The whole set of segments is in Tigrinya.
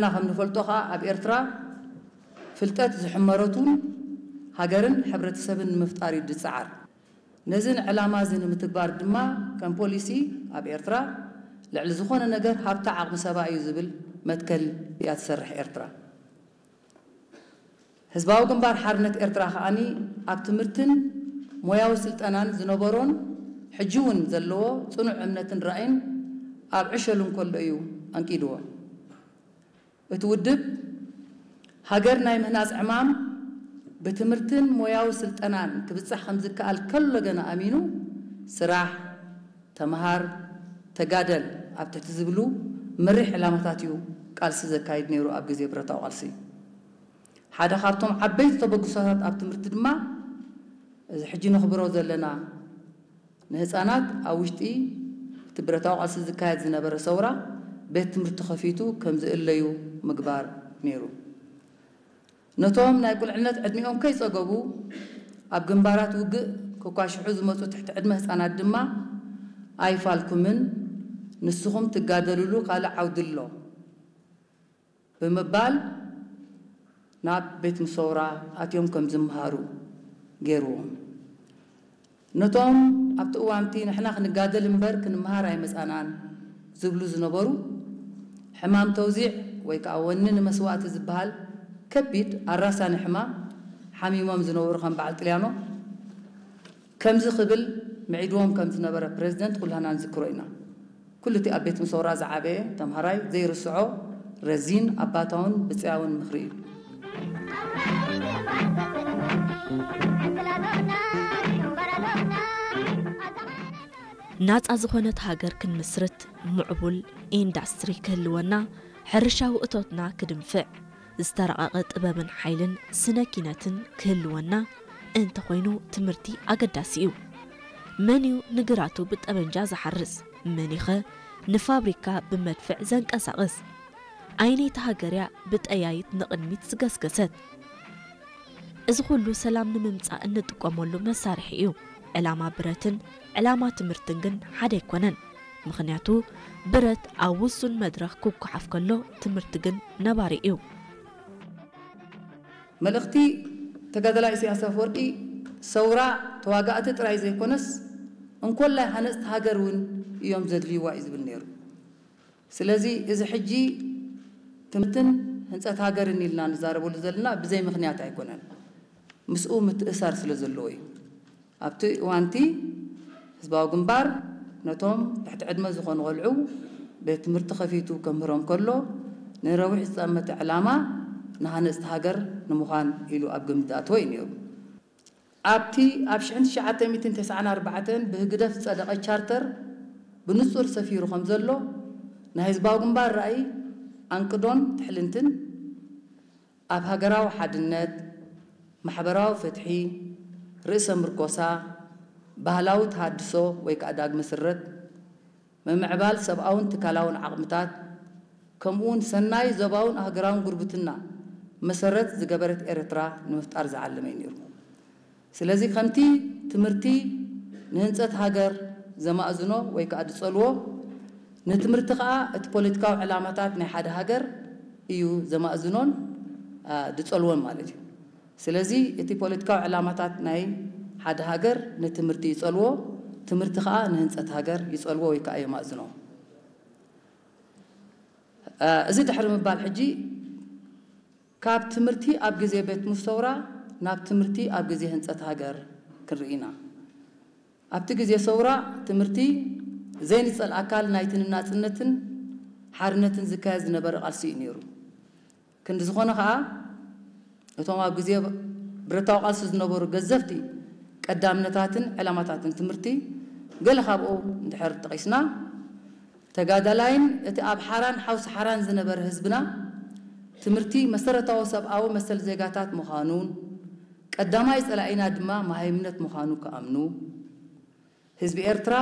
ንሕና ከም ንፈልጦ ከኣ ኣብ ኤርትራ ፍልጠት ዝሕመረቱን ሃገርን ሕብረተሰብን ንምፍጣር እዩ ዝጸዓር። ነዚ ዕላማ እዚ ንምትግባር ድማ ከም ፖሊሲ ኣብ ኤርትራ ልዕሊ ዝኾነ ነገር ሃብታ ዓቕሚ ሰባ እዩ ዝብል መትከል እያ ትሰርሕ ኤርትራ። ህዝባዊ ግንባር ሓርነት ኤርትራ ከኣኒ ኣብ ትምህርትን ሞያዊ ስልጠናን ዝነበሮን ሕጂ እውን ዘለዎ ጽኑዕ እምነትን ራእይን ኣብ ዕሸሉ እንከሎ እዩ ኣንቂድዎ። እቲ ውድብ ሃገር ናይ ምህናጽ ዕማም ብትምህርትን ሞያዊ ስልጠናን ክብጻሕ ከም ዝከኣል ከሎ ገና ኣሚኑ ስራሕ፣ ተምሃር፣ ተጋደል ኣብ ትሕቲ ዝብሉ መሪሕ ዕላማታት እዩ ቃልሲ ዘካይድ ነይሩ ኣብ ግዜ ብረታዊ ቃልሲ። ሓደ ካብቶም ዓበይቲ ተበግሶታት ኣብ ትምህርቲ ድማ እዚ ሕጂ ነኽብሮ ዘለና ንህጻናት ኣብ ውሽጢ እቲ ብረታዊ ቃልሲ ዝካየድ ዝነበረ ሰውራ ቤት ትምህርቲ ከፊቱ ከም ዝእለዩ ምግባር ነይሩ። ነቶም ናይ ቁልዕነት ዕድሚኦም ከይጸገቡ ኣብ ግንባራት ውግእ ክኳሽሑ ዝመጹ ትሕቲ ዕድመ ህጻናት ድማ ኣይፋልኩምን፣ ንስኹም ትጋደልሉ ካልእ ዓውዲ ኣሎ ብምባል ናብ ቤት ምሰውራ ኣትዮም ከም ዝምሃሩ ገይርዎም። ነቶም ኣብቲ እዋንቲ ንሕና ክንጋደል እምበር ክንምሃር ኣይመጻናን ዝብሉ ዝነበሩ ሕማም ተውዚዕ ወይ ከዓ ወኒ ንመስዋእቲ ዝበሃል ከቢድ ኣራሳኒ ሕማም ሓሚሞም ዝነበሩ ከም በዓል ጥልያኖ ከምዚ ክብል ምዒድዎም ከም ዝነበረ ፕሬዚደንት ኩላና ንዝክሮ ኢና። ኩሉ እቲ ኣብ ቤት ምሰውራ ዝዓበየ ተምሃራይ ዘይርስዖ ረዚን ኣባታውን ብፅያውን ምኽሪ እዩ። ናጻ ዝኾነት ሃገር ክንምስርት ምዕቡል ኢንዳስትሪ ክህልወና፣ ሕርሻዊ እቶትና ክድንፍዕ፣ ዝተራቐቐ ጥበብን ሓይልን ስነ ኪነትን ክህልወና እንተኾይኑ ትምህርቲ ኣገዳሲ እዩ። መን እዩ ንግራቱ ብጠበንጃ ዝሓርስ? መን ይኸ ንፋብሪካ ብመድፍዕ ዘንቀሳቕስ? ኣየነይቲ ሃገር እያ ብጠያይት ንቕድሚት ዝገስገሰት? እዚ ኩሉ ሰላም ንምምጻእ እንጥቀመሉ መሳርሒ እዩ። ዕላማ ብረትን ዕላማ ትምህርትን ግን ሓደ ኣይኮነን። ምኽንያቱ ብረት ኣብ ውሱን መድረኽ ክጓሓፍ ከሎ ትምህርቲ ግን ነባሪ እዩ። መልእኽቲ ተጋዳላይ ኢሳያስ ኣፈወርቂ ሰውራ ተዋጋእቲ ጥራይ ዘይኮነስ እንኮላይ ሃነፅቲ ሃገር እውን እዮም ዘድልይዋ እዩ ዝብል ነይሩ። ስለዚ እዚ ሕጂ ትምህርትን ህንፀት ሃገርን ኢልና ንዛረበሉ ዘለና ብዘይ ምኽንያት ኣይኮነን። ምስኡ ምትእሳር ስለ ዘለዎ እዩ። ኣብቲ እዋንቲ ህዝባዊ ግንባር ነቶም ትሕቲ ዕድመ ዝኾኑ ቆልዑ ቤት ትምህርቲ ከፊቱ ከምህሮም ከሎ ንነዊሕ ዝጠመተ ዕላማ ንሃነፅቲ ሃገር ንምዃን ኢሉ ኣብ ግምት ዝኣተወ እዩ ነይሩ። ኣብቲ ኣብ ሽሕን ትሽዓተ ሚእትን ተስዓን ኣርባዕተን ብህግደፍ ዝጸደቐ ቻርተር ብንጹር ሰፊሩ ከም ዘሎ ናይ ህዝባዊ ግንባር ራእይ ኣንቅዶን ትሕልንትን ኣብ ሃገራዊ ሓድነት፣ ማሕበራዊ ፍትሒ፣ ርእሰ ምርኮሳ፣ ባህላዊ ተሃድሶ ወይ ከዓ ዳግመ ስረት፣ ምምዕባል ሰብኣውን ትካላውን ዓቕምታት ከምኡውን ሰናይ ዞባውን ኣህገራውን ጉርብትና መሰረት ዝገበረት ኤርትራ ንምፍጣር ዝዓለመ እዩ ነይሩ። ስለዚ ከምቲ ትምህርቲ ንህንፀት ሃገር ዘማእዝኖ ወይ ከዓ ዝፀልዎ ንትምህርቲ ከዓ እቲ ፖለቲካዊ ዕላማታት ናይ ሓደ ሃገር እዩ ዘማእዝኖን ዝፀልዎን ማለት እዩ። ስለዚ እቲ ፖለቲካዊ ዕላማታት ናይ ሓደ ሃገር ንትምህርቲ ይፀልዎ፣ ትምህርቲ ከዓ ንህንፀት ሃገር ይፀልዎ ወይ ከዓ የማእዝኖ። እዚ ድሕሪ ምባል ሕጂ ካብ ትምህርቲ ኣብ ግዜ ቤት ሙስተውራ ናብ ትምህርቲ ኣብ ግዜ ህንፀት ሃገር ክንርኢ ኢና። ኣብቲ ግዜ ሰውራ ትምህርቲ ዘይንፀል ኣካል ናይቲ ንናፅነትን ሓርነትን ዝካየድ ዝነበረ ቃልሲ እዩ ነይሩ። ክንዲ ዝኾነ ከዓ እቶም ኣብ ግዜ ብረታዊ ቃልሲ ዝነበሩ ገዘፍቲ ቀዳምነታትን ዕላማታትን ትምህርቲ ገለ ካብኡ እንድሕር ጠቒስና ተጋዳላይን እቲ ኣብ ሓራን ሓውሲ ሓራን ዝነበረ ህዝብና ትምህርቲ መሰረታዊ ሰብኣዊ መሰል ዜጋታት ምዃኑን ቀዳማይ ጸላኢና ድማ መሃይምነት ምዃኑ ክኣምኑ፣ ህዝቢ ኤርትራ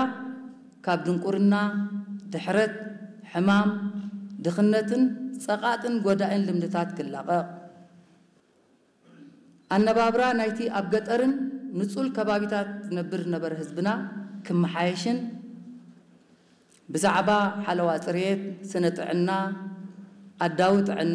ካብ ድንቁርና፣ ድሕረት፣ ሕማም፣ ድኽነትን ጸቓጥን ጎዳእን ልምድታት ክላቐቕ፣ ኣነባብራ ናይቲ ኣብ ገጠርን ንጹል ከባቢታት ዝነብር ዝነበረ ህዝብና ክመሓየሽን ብዛዕባ ሓለዋ ጽሬት፣ ስነ ጥዕና፣ ኣዳዊ ጥዕና፣